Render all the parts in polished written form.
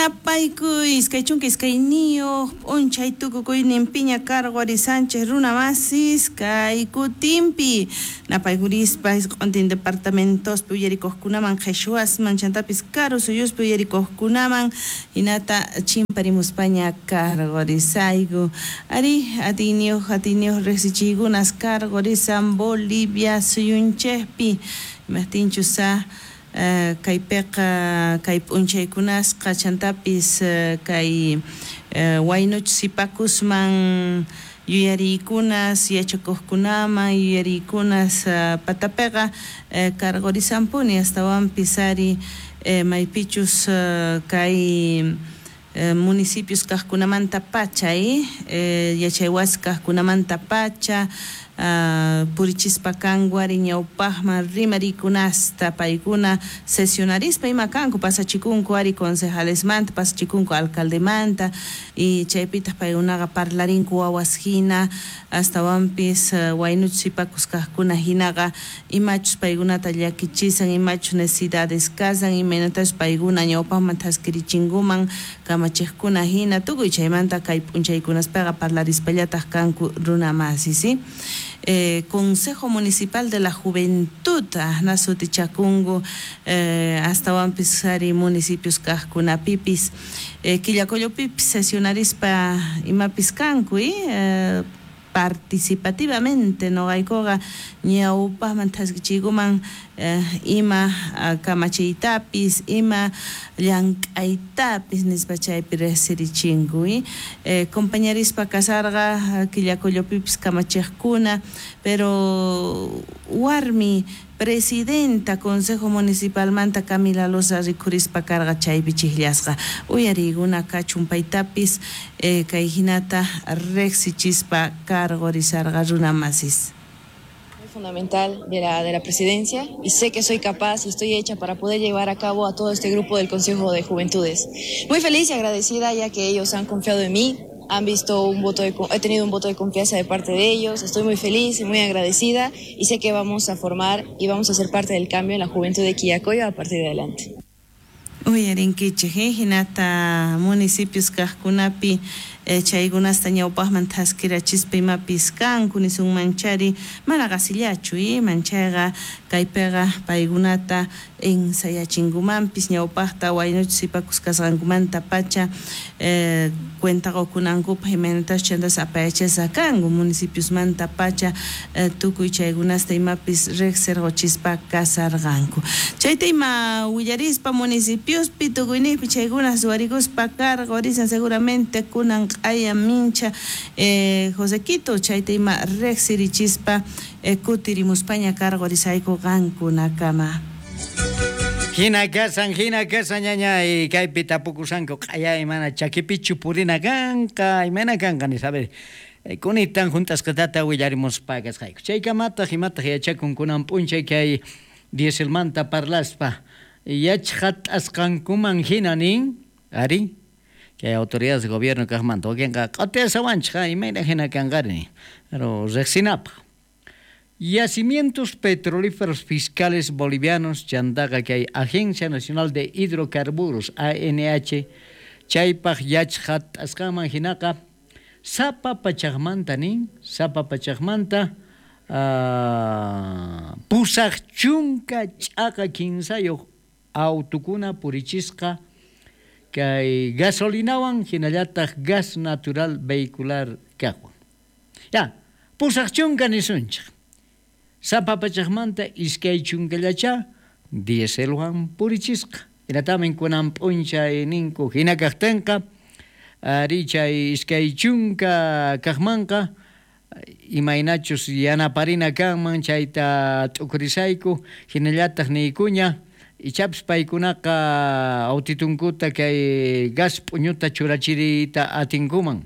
Napaykuy 22 p'unchay tukukuyninpiña karqurisanchik runa masis kay kutinpi napaykurispa isq'untin departamentospi uyarikuqkunaman qhichwasman chantapis karu suyuspi uyarikuqkunaman hinata chimparimuspaña karqurisayku ari atiyniyuq riqsichiykunas karqurisan Bolivia suyunchikpi imaptinchus kaypiqa kay p'unchaykunasqa chantapis kay waynuchus sipakusman yuyariykunas yachakuqkunaman yuyariykunas patapiqa karqurisanpuni astawanpis ari maypichus kay municipios kaqkunamanta pacha yachaywasi kaqkunamanta pacha purichispa kanku ari ñawpaqman rimariykunasta paykuna sesionarispa ima kanku pasachikunku ari concejalesmanta pasachikunku alcaldemanta y chaypitaq paykunaqa parlarinku wawas hina astawanpis waynuchus sipakus kaqkuna hinaqa imachus paykunata llakichisan imachus necesidades kasan imaynatachus paykuna ñawpaqman thaskirichinkuman kamachiqkuna hina tukuy chaymanta kay p'unchaykunaspaqa parlarispallataq kanku runa masis Consejo Municipal de la Juventud ahna sutichakunku astawanpis ari municipios kaqkunapipis Quillacollopipis sesionarispa imapis kanku participativamente noqaykuqa ñawpaqman thaskichiykuman ima kamachiytapis ima llank'aytapis nispa chaypi riqsirichinku compañerispa kasarqa Quillacollopipis kamachiqkuna pero warmi presidenta Consejo Municipalmanta Camila Loza rikhurispa karqa chaypi chiqllasqa uyariykuna kachun paytapis kay hinata riqsichispa karqurisarqa runa masis. Fundamental de la presidencia y sé que soy capaz y estoy hecha para poder llevar a cabo a todo este grupo del Consejo de Juventudes. Muy feliz y agradecida ya que ellos han confiado en mí, han visto he tenido un voto de confianza de parte de ellos, estoy muy feliz y muy agradecida y sé que vamos a formar y vamos a ser parte del cambio en la juventud de Quillacollo a partir de adelante. Uyarinkichik hinata municipios kaqkunapi chaykunasta ñawpaqman thaskirachispa imapis kanku nisunmanchari mana qasillachu manchayqa kaypiqa paykunata ensayachinkumanpis ñawpaqta waynuchus sipakus kasqankumanta pacha cuenta qukunankupaq imaynatachus chantas apayachasqa kanku municipiosmanta pacha tukuy chaykunasta imapis riqsirquchispa kasarqanku chayta ima willarispa municipiospi tukuyniqpi chaykunas ruwarikuspa karqurisan seguramente kunan q'aya mincha Josequito chayta ima riqsirichispa kutirimuspaña karqurisayku qankunakama. Hina kasan ñañay kaypi tapukusanku q'aya imana chakipichu purina kanqa imana kanqa nispa a ver kunitan juntasqatata willarimuspa kasqayku chaykamataq imataq yachakun kunan p'unchay kay dieselmanta parlaspa yachqat'asqankuman hina nin ari kay autoridades de gobierno kaqmanta wakinqa q'atiasawanchik imayna hina kanqari pero riqsinapaq. Yacimientos petrolíferos fiscales bolivianos, chantaqa kay Agencia Nacional de Hidrocarburos, ANH, chaypaq yachqat'asqanman hinaqa sapa pachaqmanta nin, sapa pachaqmanta 83.3 autukuna purichisqa kay gasolinawan hinallataq gas natural vehicular kaqwan. Ya, 80 nisunchik. Sapa pachaqmanta 20 dieselwan purichisqa. Hinatamin kunan p'unchay ninku hina kaqtinqa ari chay 20 kaqmanqa imaynachus yanaparina kanman chayta t'ukurisayku hinallataq niykuña ichapis paykunaqa autitunkuta kay gas p'uñuta churachiriyta atinkuman.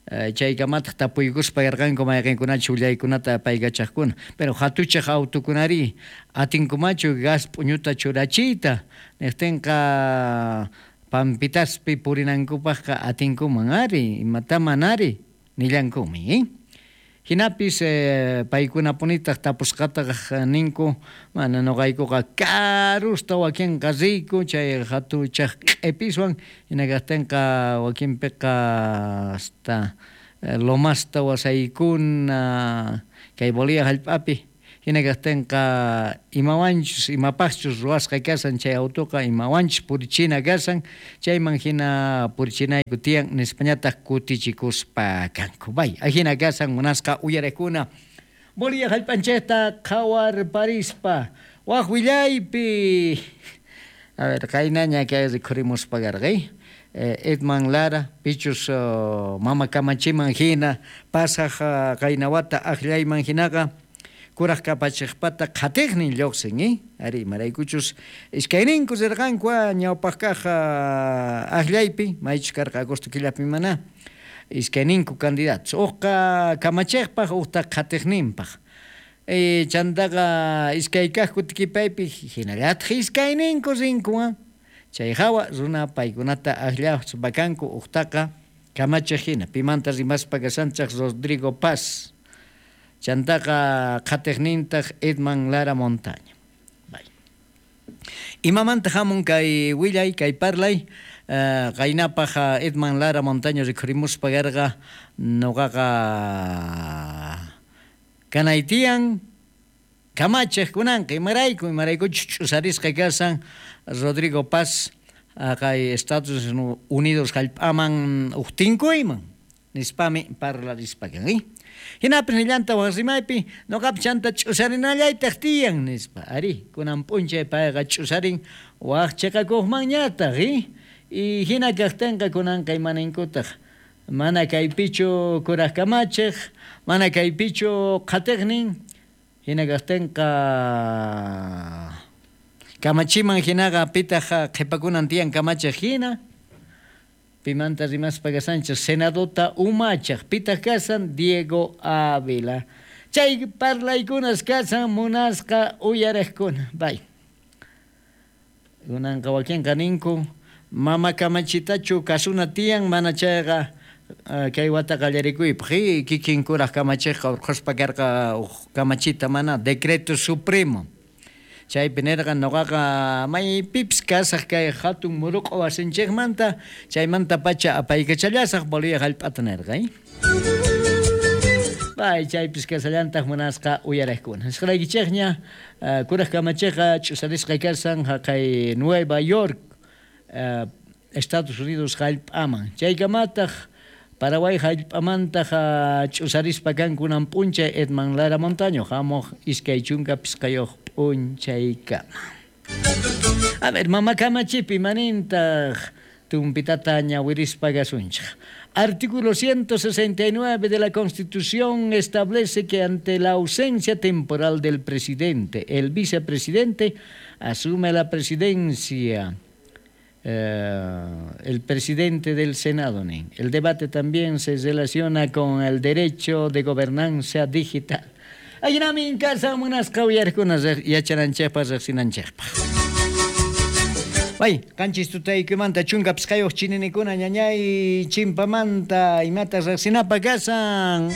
Chaykamataq tapuykuspa yarqanku mayqinkunachu willaykunata paykachaqkuna pero hatuchaq autukunari atinkumachu gas p'uñuta churachiyta niqtinqa pampitaspi purinankupaqqa atinkuman ari imataman ari nillankumi. Hinapis paykunapunitaq tapusqataq ninku mana noqaykuqa karusta wakinqa riyku chay hatuchaq q'ipiswan hina kaqtinqa wakinpiqa hasta lomasta wasaykuna kay Bolivia hallp'api hina kaqtinqa imawanchus imapaqchus ruwasqa kasan chay autoqa imawanchus purichina kasan chayman hina purichinayku tiyan nispañataq kutichikuspa kanku. Bay, ajina kasan munasqa uyariqkuna Bolivia hallp'anchikta qhawarparispa waq willaypi. A ver, qaynaña kay rikhurimuspa karqay. Edman Lara, pichus mama kamachiman hina pasaq qaynawata aqllayman hinaqa kuraq kapachiqpata qhatiqnin lluqsin, ari imaraykuchus iskayninku rirqanku ñawpaq kaq aqllaypi maychus karqa agosto killapi mana iskayninku candidatos uqqa kamachiqpaq uqta qhatiqninpaq chantaqa iskay kaq kutikipaypi hinallataq iskayninku rinku chay hawa runa paykunata aqllaspa kanku uqtaqa kamachiq hina pimanta rimaspa kashanchaq Rodrigo Paz chantaqa qhatiqnintaq Edman Lara Montaño. Bay. Imamanta hamun kay willay kay parlay qaynapaq Edman Lara Montaño rikhurimuspa karqa noqaqa kanaytiyan kamachiq kunanqa imarayku imaraykuchus ch'usarisqa kasan Rodrigo Paz kay Estados Unidos hallp'aman uqtinkuyman nispami parlarispa kan. Hinapis nillanta waq rimaypi noqapi chanta ch'usarinallaytaq tiyan nispa. Ari, kunan p'unchay payqa ch'usarin waq chiqakuqmanñataq, y hina kaqtinqa kunanqa imaninkutaq mana kaypichu kuraq kamachiq, mana kaypichu qhatiqnin, hina kaqtinqa kamachiman hinaqa pitaq qhipakunan tiyan kamachiq hina. Pimanta rimaspa kasanchik senadota umachaq pitaq kasan Diego Ávila. Chay parlaykunas kasan munasqa uyariqkuna. Bay. Kunanqa wakinqa ninku mama kamachitachu kasuna tiyan mana chayqa kay wata qallarikuypaq kikin kuraq kamachiqqa urqhuspa karqa uq kamachita mana decreto supremo. Chaypi nirqa noqaqa maypipis kasaq kay hatun muruq'u wasinchikmanta chaymanta pacha apaykachallasaq Bolivia hallp'ata nirqa. Bay, chaypis kasallantaq munasqa uyariqkuna. Nisqaraykichikña kuraq kamachiqqa ch'usarisqa kasan haqay Nueva York Estados Unidos hallp'aman. Chaykamataq Paraguay hallp'amantaq ch'usarispa kankunan p'unchay Edman Lara Montaño hamuq 25 p'unchaykama. A ver, mama kamachipi manintaq tumpitata ñawirispa kasunchik. Artículo 169 de la Constitución establece que ante la ausencia temporal del presidente, el vicepresidente asume la presidencia. El presidente del Senado. El debate también se relaciona con el derecho de gobernanza digital. Aynamin casa munasqa uyarikunas yachananchikpaq riqsinanchikpaq. Bay, qanchis tutaykumanta chunka pisqayuq chininikuna ñañay chimpamanta imata riqsinapaq kasan.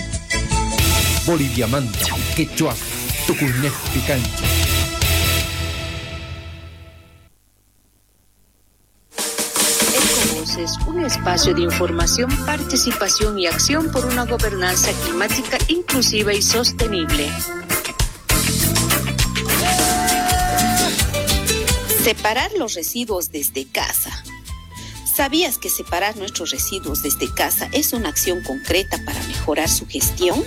Boliviamanta, quechua, tukuynejpi kanchik. Un espacio de información, participación y acción por una gobernanza climática inclusiva y sostenible. Separar los residuos desde casa. ¿Sabías que separar nuestros residuos desde casa es una acción concreta para mejorar su gestión?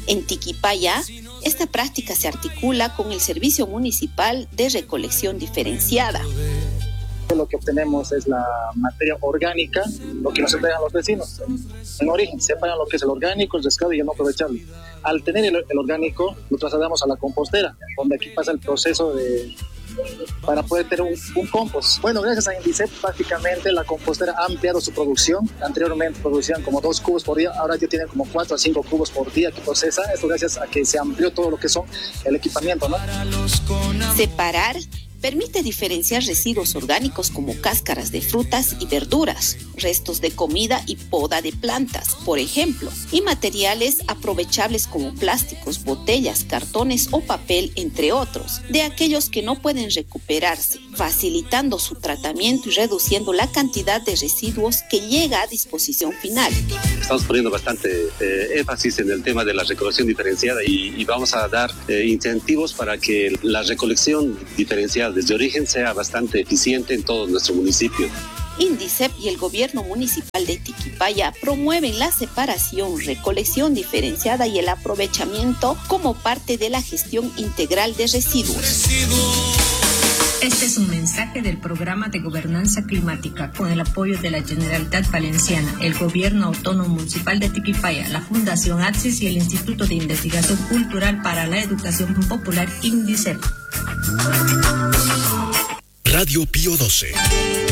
En Tiquipaya, esta práctica se articula con el Servicio Municipal de Recolección Diferenciada. Lo que obtenemos es la materia orgánica, lo que nos entregan los vecinos. En origen, separan lo que es el orgánico, el reciclado y el no aprovechable. Al tener el orgánico, lo trasladamos a la compostera, donde aquí pasa el proceso para poder tener un compost. Bueno, gracias a Indicep, prácticamente la compostera ha ampliado su producción. Anteriormente producían como 2 cubos por día, ahora ya tienen como 4 a 5 cubos por día que procesa. Esto gracias a que se amplió todo lo que son el equipamiento, ¿no? Separar Permite diferenciar residuos orgánicos como cáscaras de frutas y verduras, restos de comida y poda de plantas, por ejemplo, y materiales aprovechables como plásticos, botellas, cartones o papel, entre otros, de aquellos que no pueden recuperarse, facilitando su tratamiento y reduciendo la cantidad de residuos que llega a disposición final. Estamos poniendo bastante énfasis en el tema de la recolección diferenciada y vamos a dar incentivos para que la recolección diferenciada desde origen sea bastante eficiente en todo nuestro municipio. Indicep y el gobierno municipal de Tiquipaya promueven la separación, recolección diferenciada y el aprovechamiento como parte de la gestión integral de residuos. Este es un mensaje del Programa de Gobernanza Climática con el apoyo de la Generalitat Valenciana, el Gobierno Autónomo Municipal de Tiquipaya, la Fundación Axis y el Instituto de Investigación Cultural para la Educación Popular, INDICEP. Radio Pío 12.